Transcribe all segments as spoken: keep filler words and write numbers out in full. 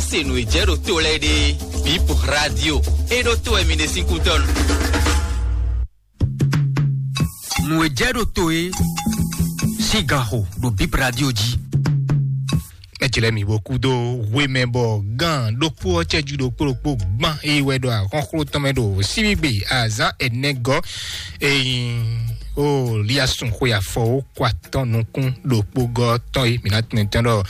Se nǔ e jɛ ɖo to lɛ́ɛ ɖe, Bip Radio e ɖo to wɛ mi ɖe sín kútɔ́ nu. Nǔ e jɛ ɖo to e sín gan xo ɖo Bip Radio jí. Mɛjlɛ mi bo kú dó hwe mɛ bɔ gán ɖokpó ɔ́ cɛjú ɖokpó ɖokpó gbán e wɛ ɖo ahɔ́nxló tɔn mɛ ɖo síbígbe azán ɛnɛgɔ́ eyin o liasun xwe afɔ ó kɔ atɔ́ nukún ɖokpó gɔ́ tɔn e mǐ ná tunwun tɛn ɖɔ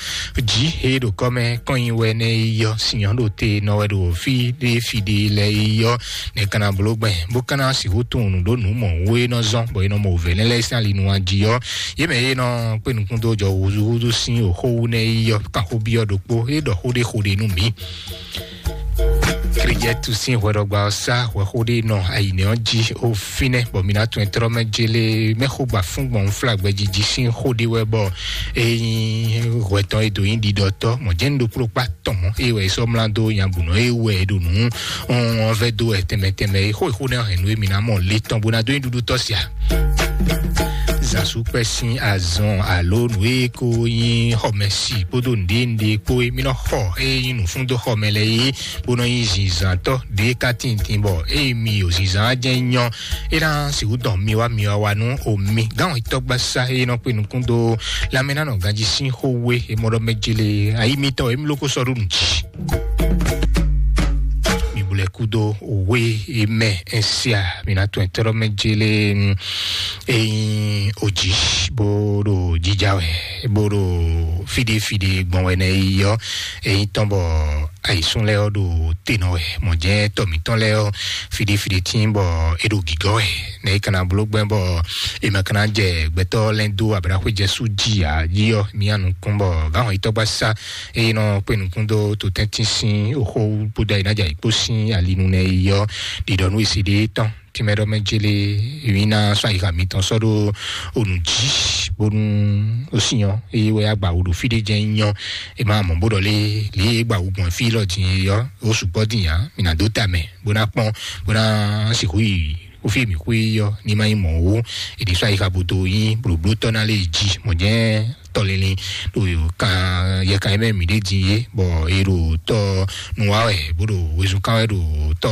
jí e ɖo kɔ́ mɛ kɔn nyi wɛ nɛ yi yɔ sinyɔ́ ɖo te nɔ wɛ ɖo fí ɖé fí ɖé lɛ yi yɔ nɛ kana bló gbɛn bó kana sixú tunwun nǔ ɖó nǔ mɔ wú e nɔ zɔn bɔ e nɔ mɔ wǔvɛ́ nɛ lɛ́ɛ sín ali nu jí ɔ́ yě mɛ e nɔ kpé nukún dó jɔ húzúhúzú sín òxó wú nɛ yi yɔ kan xó byɔ́ ɖokpó é ɖɔ xó ɖé xó ɖé nú mǐ. Kríjɛ́tu sín hwɛɖɔgba ɔ́ sá hwɛxó ɖé nɔ ayǐnɛ́ ɔ́ jí ó fínɛ́ bɔ mi ná tunwun tlɔ́ mɛ jélé mɛxó gba fún gbɔn flagbɛjiji sín xó ɖé wɛ bɔ é nyí hwɛ tɔn e dǒ nyí ɖiɖɔtɔ́ mɔ̌ jɛ́n ɖokpló kpá tɔn mɔ̌ é wɛ é sɔ́ mlá dó nyabǔnɔ é wɛ é ɖo nǔ ɔ́n vɛ́ dó wɛ tɛnmɛ tɛnmɛ é xó e xó nɛ́ hɛn nú émí ná mɔ le tɔn bó ná dó nyí ɖuɖu tɔ́ sia. Zǎnsúkpɛ́ sín azɔn alo nǔ e ko nyí xɔmɛsi kpódó nǔɖé nǔɖé kpó e mí nɔ xɔ e nyí nǔfúndó xɔmɛ lɛ́ɛ é bó nɔ nyí zinzǎntɔ́ ɖě ka tintin bɔ ée mi ɖo zinzǎn jɛ́n nyɔ́ é ná sixú dɔn mi wá mi wá wá nú omi gánwɛtɔ́gbasá e nɔ kpe nukún dó lanmɛnánɔ ganjí sín xó wé e mɔ ɖɔ mɛ jele ayi mitɔn e mí ló kó sɔ́ ɖó nǔ jí. Mi bulɛ kúdó wé e mɛ ɛsia mi ná tún ɛtɛ́ ɖɔ mɛ jele. Eyin oji bó ɖo jíjá wɛ bó ɖo fíɖífíɖí gbɔn wɛ nɛ yi ɔ́ eyin tɔn bɔ ayǐsún lɛ́ɛ ɔ́ ɖo te nɔ wɛ mɔ̌ jɛ́n tɔ mǐtɔn lɛ́ɛ ɔ́ fíɖífíɖí tín bɔ é ɖo gǐgɔ́ wɛ nɛ é kana bló gbɛ́ bɔ è ma kana jɛ gbɛtɔ́ lɛ́ɛ dó ablaxwé jɛsú jí ǎ jí ɔ́ mía nukún bɔ gǎn hɔn yítɔ́gbasá eye nɔ kpé nukún dó to tɛ́ntin sín oxó bó dó ayi ná jɛ ayǐkpó sín alinu nɛ yi ɔ́ ɖiɖɔ nú esi ɖé tɔn tìmɛ ɖɔ mɛ jele èmi ná sɔ́ ayixa mitɔn sɔ́ ɖó onú jí bónú ó sì nyɔ́ eye wɛ agba wǔ ɖo fí ɖé jɛ́n nyɔ́ è má mɔ bó ɖɔ lé lě e gba wǔ gbɔn fí lɔ din é ɔ́ ó sukpɔ́ din ǎ mì nǎ dó ta mɛ bó ná kpɔ́n bó ná sixú yi ó fí mǐ xwé ɔ́ ní má nyí mɔ̌ ó è ní sɔ́ ayixa bó dó nyí blǒblótɔ́ ná lé jí mɔ̌ jɛ́n tɔlili ɖo kan yɛkan mɛ mǐ ɖe din yé bɔ è ɖo tɔ nu wa wɛ bó ɖo wezun kan wɛ ɖo tɔ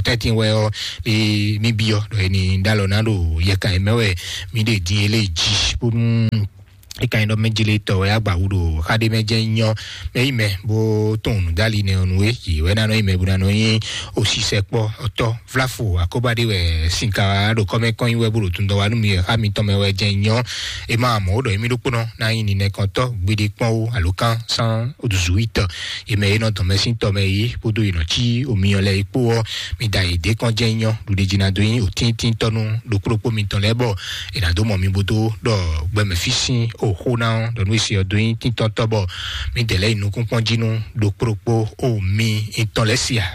tɛ́ntin wɛ ɔ́ lé mí byɔ́ ɖɔ è ní ɖó alɔ ná ɖo yɛkan mɛ wɛ mǐ ɖe din yé lé jí bónú é ka nyí ɖɔ mɛ jele tɔ wɛ agba wú ɖo xa ɖé mɛ jɛ nyɔ mɛ yi mɛ bó tún nǔ dali nɛ ɔnu é yě wɛ ná nɔ yi mɛ bó ná nɔ nyí osisɛ kpɔ ɔtɔ vlafo akɔba ɖé wɛ sinka ɖo kɔmɛ kɔn yi wɛ bó ɖo tundɔ wa nú mi wɛ xa mitɔn mɛ wɛ jɛ nyɔ é ma mɔ wó ɖɔ émi ɖokpónɔ ná nyí ninɛ kɔntɔ gbede kpɔn wó alo kan san oduzu yi tɔ yě mɛ é nɔ dɔn mɛ sín tɔ mɛ yi kpódó yi nɔ cí omi ɔ́ lɛ yi kpó ɔ́ mi da yi dé kɔn jɛ nyɔ ɖuɖe jí ná dó nyí òtíntín tɔnu ɖokpóɖokpó mitɔn lɛ bɔ è nǎ dó mɔ mi bó dó ɖɔ gbɛmɛ fí sín òxó ná ɔ́ ɖɔ nú esi ɔ́ dó nyí tíntɔ́ntɔ́ bɔ mǐdɛɛ lɛ́ɛ yi nukúnkpɔ́n jí nú ɖokpóɖokpó o mi ntɔn lɛ́ɛ sia.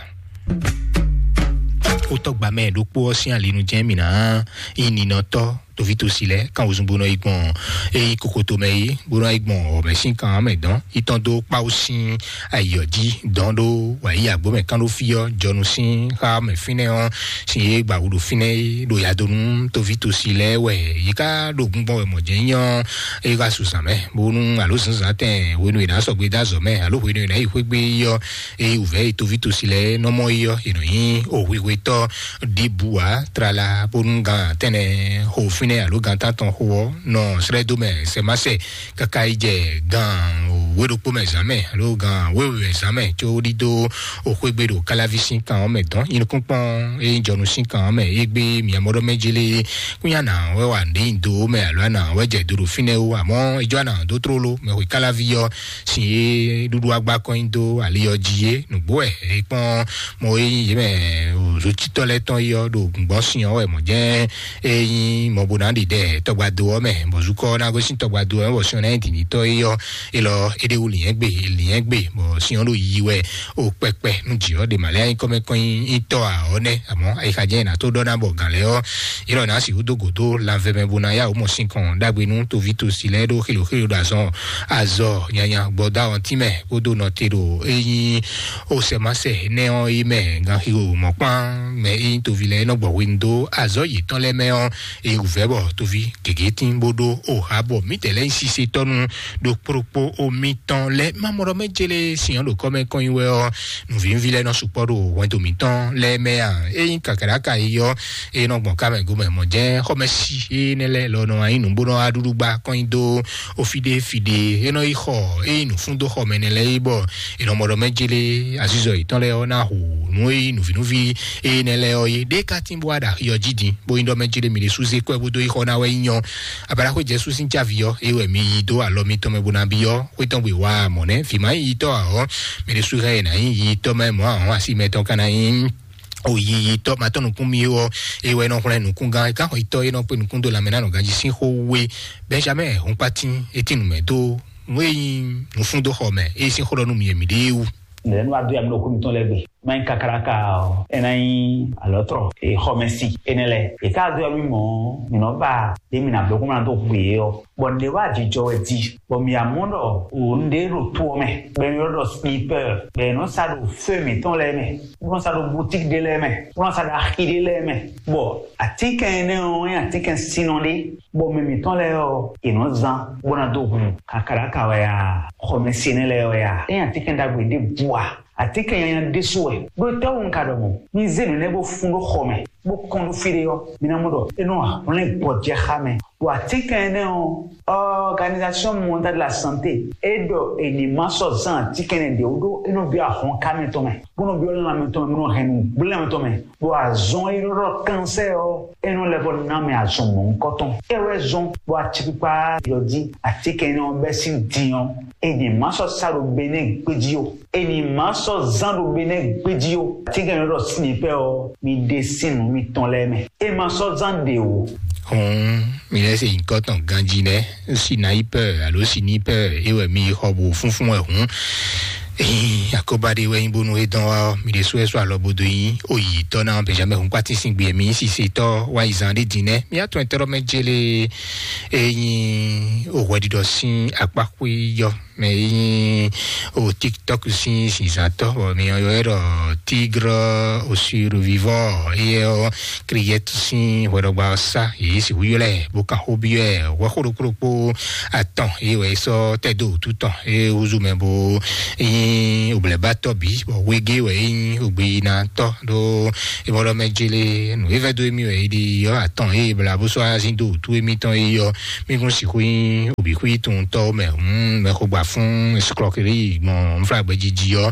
Xótɔ́gba mɛ ɖokpó ɔ́ sín alinu jɛ́n mǐ ná nyí ninɔtɔ́ tovítosi lɛ́ɛ kan wozun bó nɔ yi gbɔn é nyí kokoto mɛ yi bó nɔ yi gbɔn ɔ̀mɛ sín kan mɛ dɔn yi tɔn dó kpáwó sín ayiyɔ jí dɔn ɖó wǎyi agbó mɛ kán ɖó fí ɔ́ jɔnu sín xá mɛ fínɛ́ ɔ́ sin yé gba wǔ ɖo fínɛ́ é ɖo yadonu toví tosi lɛ́ɛ wɛ yě ká ɖo gbíngbɔ́n wɛ mɔ̌ jɛ́n nyɔ́ é wá su zǎn mɛ bónú alo zǎnzǎn tɛn hwenu è nǎ sɔgbe dó azɔ̌ mɛ alo hwenu è nǎ yi xwé gbé é ɔ́ é wǔvɛ́ e toví tosi lɛ́ɛ nɔ mɔ é ɔ́ è nɔ nyí òhwihwetɔ́ ɖěbǔ ǎ tlala bónú gan tɛnɛ xo fínɛ́ alo gan tántɔn xo ɔ́ nɔ srɛ́ dó mɛ sɛmáṣɛ káká yi jɛ gan wé ɖokpó mɛ zǎn mɛ alo gan wéwe mɛ zǎn mɛ có ɖídó òxwégbe ɖo káláví sín kan ɔ́ mɛ dɔn nyinukúnkpɔn é nyí jɔnu sín kan ɔ́ mɛ é gbé miamɔɖɔ mɛ jélé kúnyá nǎ wɛ wà ní do mɛ alo anǎ wɛ jɛ do ɖo fínɛ́ ó àmọ́ ijó anǎ dó tlóló mɛ xwe káláví ɔ́ sin é ɖúɖú agbá kɔn nyi dó ali ɔ́ jí é nǔgbó wɛ é kpɔ́n mɔ é nyí yě mɛ òzócítɔ́ lɛ́ɛ tɔn yi ɔ́ ɖo gbɔn sin ɔ́ wɛ mɔ̌ jɛ́n é nyí mɔ bó ná ɖi ɖɛ tɔgbado ɔ́ mɛ bɔ zukɔ ɔ́ ná gosín tɔgbado ɔ́ mɛ bɔ sin ɔ́ ná nyí dǐndítɔ́ é ɔ́ é lɔ é ɖé wú lǐnyɛ́gbe lǐnyɛ́gbe bɔ sin ɔ́ ɖo yi wɛ o kpɛkpɛ nú jǐ ɔ́ ɖe mǎ lɛ́ɛ nyí kɔ́mɛkɔ́ nyí tɔ́ ǎ ɔ́ nɛ́ àmọ́ ayixa jɛ́n è nǎ tó ɖɔ ná bɔ gǎn lɛ́ɛ ɔ́ é lɔ nǎ sixú dó gǒ dó lanvɛ mɛ bó ná yá wǔ mɔ sín kɔn ɖagbe nú toví tosi lɛ́ɛ ɖó xilo xilo ɖo azɔn azɔ nyanya gbɔdá ɔ́ tínmɛ kpódó nɔte ɖo é nyí ó sɛ má sɛ énɛ́ ɔ́ yi mɛ ganxixo mɔ̌kpán mɛ e nyí toví lɛ́ɛ nɔ gbɔ hwenu dó azɔ̌ yětɔn lɛ́ɛ mɛ ɔ́, e wǔvɛ́ bɔ toví gěgé tín bó ɖó o ha bɔ mǐtɛɛ lɛ́ɛ nyí sisetɔ́nu ɖo kplokpó o mitɔn lɛ́ɛ. Má mɔ ɖɔ mɛ jélé sinyɔ́ ɖo kɔ́ mɛ kɔn nyi wɛ ɔ́, nǔvínúví lɛ́ɛ nɔ sukpɔ́ ɖo hwɛndo mǐtɔn lɛ́ɛ mɛ a? Ényí kàkàɖáka yi ɔ́, e nɔ gbɔn ká mɛ gomɛ mɔ jɛ́n xɔmɛsi énɛ́ lɛ́ɛ lɔ nɔ wá nyí nǔ bó nɔ wá ɖúɖú gbá kɔn nyi dó o fíɖé fíɖé. E nɔ yi xɔ e nyí nǔfúndóxɔmɛ nɛ lɛ́ɛ yi bɔ e nɔ mɔ ɖɔ mɛ jélé azizɔ yětɔn lɛ́ɛ ɔ́ ná hu nǔ e nyí nǔvínúví énɛ́ lɛ́ɛ ɔ́ yé. Ɖé ka tín bó wá ɖo axi ɔ́ jí din, bó nyí ɖɔ mɛ jélé mi ɖésú zé kɔ́ ɛ bó dó yi xɔ ná wɛ nyí nyɔ́. Abalaxwé Jɛsu sín cávi ɔ́, é wɛ mi yi dó alɔ mitɔn mɛ bó ná byɔ́ xwé tɔn gbe wá mɔ̌ nɛ́. Vǐ ma nyí yitɔ́ ǎ ɔ́, mi ɖésú hɛn è nǎ nyí yitɔ́ mɛ mɔ̌ ǎ ɔ́, asi mɛtɔn ka ná nyí oyiyitɔ́ ma tɔn nukún mi ó. É wɛ nɔ xlɛ́ nukúngán é ká xɔ yitɔ́ é nɔ kpé nukún dó lanmɛ ná nɔ ganjí sín xó we. Benjamin Hunkpatin é tín nǔ mɛ dó nú é nyí nǔfúndóxɔ mɛ é sín xó ɖɔ nú mi e mi ɖée wú. Lɛ̌ nú adó ya mi ɖo xó mitɔn lɛ́ɛ gbe. Má nyí kakáláka ɔ́, é ná nyí alɔ̌trɔ, e xɔmɛsi énɛ́ lɛ́ɛ. È ká adó ya mi mɔ̌, mǐ nɔ ba ɖě mǐ ná bló kó má ná dó hu yě ɔ́. Bɔ nǔɖé wá jijɔ wɛ di, bɔ mǐ amɔ ɖɔ wǒ nǔɖé ɖo to ɔ́ mɛ, bɔ è nɔ ɖɔ sniper, bɔ è nɔ sa ɖo feu mǐtɔn lɛ́ɛ mɛ, bó nɔ sa ɖo boutique ɖé lɛ́ɛ mɛ, bó nɔ sa ɖo axi ɖé lɛ́ɛ mɛ. Bɔ atínkɛn énɛ́ ɔ́ nyí atínkɛn sinnɔ ɖé, bɔ mɛ mǐtɔn lɛ́ɛ ɔ́, è nɔ zán bó ná dó hu kakáláka wɛ a, xɔmɛsi énɛ́ lɛ́ɛ wɛ a, é nyí atínkɛn ɖagbe ɖěbǔ a? Atínkɛn nyanya ɖésú wɛ. Ɖó tɛ́wú un ka ɖɔ mɔ̌? Mi zé nǔ nɛ́ bó fún ɖó xɔ mɛ, bó kɔn ɖó fí ɖé ɔ́, mi ná mɔ ɖɔ é nɔ hwlɛ́n gbɔjɛxá mɛ. Ɖo atínkɛn énɛ́ ɔ́, Organisation Mondiale de la Santé é ɖɔ è ní ma sɔ́ zán atínkɛn énɛ́ ɖě wú ɖó é nɔ byɔ́ ahɔnká mɛtɔn mɛ, bó nɔ byɔ́ lanmɛ tɔn mɛ, bó nɔ hɛn nǔgblɛ́n mɛtɔn mɛ. Ɖo azɔn e ɖɔ kansɛ́ ɔ́, é nɔ lɛ́ vɔ ná mɛ azɔn mɔ̌hunkɔtɔn. É wɛ zɔn bɔ acikpikpa yɔ jí atínkɛn énɛ́ ɔ́ bɛ́ sín din ɔ́, è ní ma sɔ́ sa ɖo Benɛ́ɛ gbéjí ó. È ní ma sɔ́ zán ɖo Benɛ́ɛ gbéjí ó. Atínkɛn énɛ́ ɖɔ sinipɛ́ ɔ́, mi ɖe sín nǔ mitɔn lɛ́ɛ mɛ. É ma sɔ́ zán ɖě ó. Hɔn mi lɛ́ se nyǐkɔ tɔn ganjí lɛ́ɛ, sinayipɛ́ alo sinipɛ́ é wɛ mi xɔ bo fúnfún wɛ hǔn. Akɔba ɖé wɛ nyí bónú é dɔn wá ɔ́, mi ɖésú wɛ sɔ́ alɔ bo dó nyí oyǐtɔ́ ná Benjamin Hunkpatin sín gbe mi nyí sisetɔ́ wá yi zan ɖé din nɛ́. Mi atɔn ɛtɛ́ ɖɔ mɛ jélé é nyí òhwɛɖiɖɔ sín akpáxwé yɔ mɛ é nyí o TikTok sín zinzantɔ́, bɔ mi yɔ ɛ ɖɔ Tigre au survivant, éyɛ́ ɔ́ Kriyɛ́tu sín hwɛɖɔgba ɔ́ sá yě sixú ylɔ́ ɛ bó ka xó byɔ́ ɛ hwɛxó ɖokpó ɖokpó atɔn, é wɛ é sɔ́ tɛ́ dó wǔtu tɔn, é húzú mɛ bó nyí òblɛ̌bátɔ́ bǐ, bɔ wegé wɛ é nyí ògbeyinatɔ́ ɖó é mɔ ɖɔ mɛ jélé nǔ é vɛ́ dó émí wɛ é ɖi ɔ́ atɔn é bla bó sɔ́ azín dó wǔtu émítɔn é ɔ́, mí kún sixú nyí òbíxwí towuntɔ́ mɛ hǔn mɛxogbafún escroquerie gbɔn nflágbɛ́jiji ɔ́.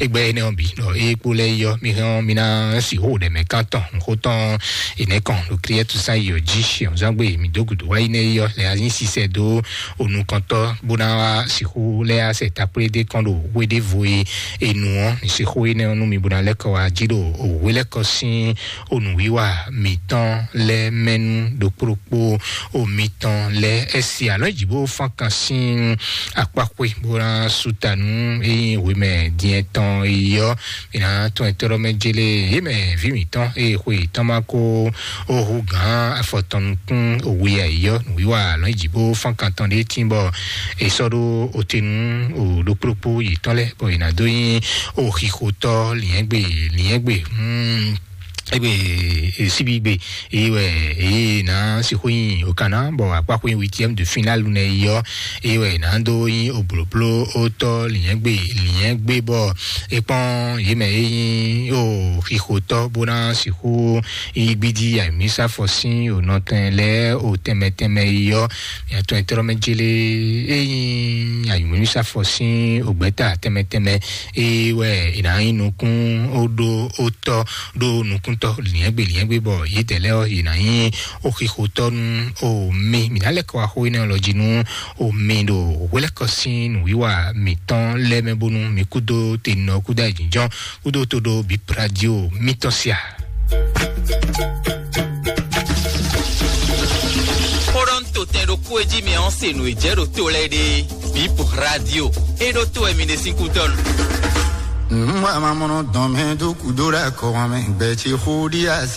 Égbɛ́ énɛ́ ɔ́ bǐ ɖɔ é kpó lɛ́ɛ yi ɔ́, mi hɛn ɔ́, mi ná sixú ɖɛ̌mɛ kántɔn nǔxótɔn énɛ́ kɔn ɖo Kriɛ́tu sán yi ɔ́ jí. Ṣèǹzángbé mi dó gǔdo wá yi nɛ́ yi ɔ́, lɛ azín sisɛ dó onukɔntɔ́ bó ná wá sixú lɛ́ asɛ takplé dé kɔn ɖo hwe ɖěvo e è nu ɔ́, mi sixú énɛ́ ɔ́ nú mi bó ná lɛ́ kɔ wá jí ɖo òwe lɛ́ kɔ sín onùwíwá mǐtɔn lɛ́ɛ mɛ nú ɖokpó ɖokpó o mitɔn lɛ́ɛ. Ɛ si alɔ̌ jǐ bó fán kan sín akpáxwé bó ná sú ta nú é nyí hwemɛ diɛn tɔn yi ɔ́, mǐ ná tɔn ɛtɔ́ ɖɔ mɛ jélé yě mɛ ví mǐtɔn eye xwe yětɔn ma kó ó hú gǎn afɔtɔn nukún òwe ayǐ ɔ́, nǔwiwa alɔ̌ jǐ bó fán kan tɔn ɖé tín bɔ è sɔ́ ɖó otenu o ɖokpó ɖokpó yětɔn lɛ́ɛ bɔ è nǎ dó nyí o xixotɔ́ lǐnyɛ́gbe lǐnyɛ́gbe. Hmm. Egbe síbígbe èyí wɛ èyí ná sixú nyi òkànnà bɔ akpákpó nyi huitième de finale nɛ yi ɔ́, èyí wɛ ná dó nyi òblòbló ótɔ lìyɛngbé lìyɛngbé bɔ é kpɔn yě mɛ é nyi ó xixotɔ bó ná sixú yi gbídí àmísàfɔ sín ònɔtɛn lɛ ó tɛnmɛ tɛnmɛ yi ɔ́. Yàtọ̀ ìtọ́rọ́mẹ́jélé é nyi àyùmísàfɔ sín ògbẹ́ta tɛnmɛ tɛnmɛ é wɛ è nǎ nyí nukún ó ɖó ó tɔ́ ɖó nukúntɔ́ lǐnyɛ́gbe lǐnyɛ́gbe bɔ yědɛɛ lɛ́ɛ ɔ́, yě ná nyí ó xixotɔ́ nú ó mì. Mǐ ná lɛ́ kɔ wá xó énɛ́ lɔ jí nú ó mì ɖo hwelɛ́kɔ sín nǔwiwa mǐtɔn lɛ́ɛ mɛ bónú mi kúdó tenɔ kúdó ayǐjínjɔ́n kúdó tó ɖó bǐ radio mítɔn sia. Xó ɖɔ ń to tɛn ɖokpó e jí mi ɔ́ se nǔ e jɛ ɖo to lɛ́ɛ ɖe. Bip radio. E ɖo to wɛ mi ɖe sín kútɔ́ nu. Nwa mamɔnɔ dɔn mɛ dó kúdó ɖe akɔ wan mɛ gbɛ ce xó ɖi asi.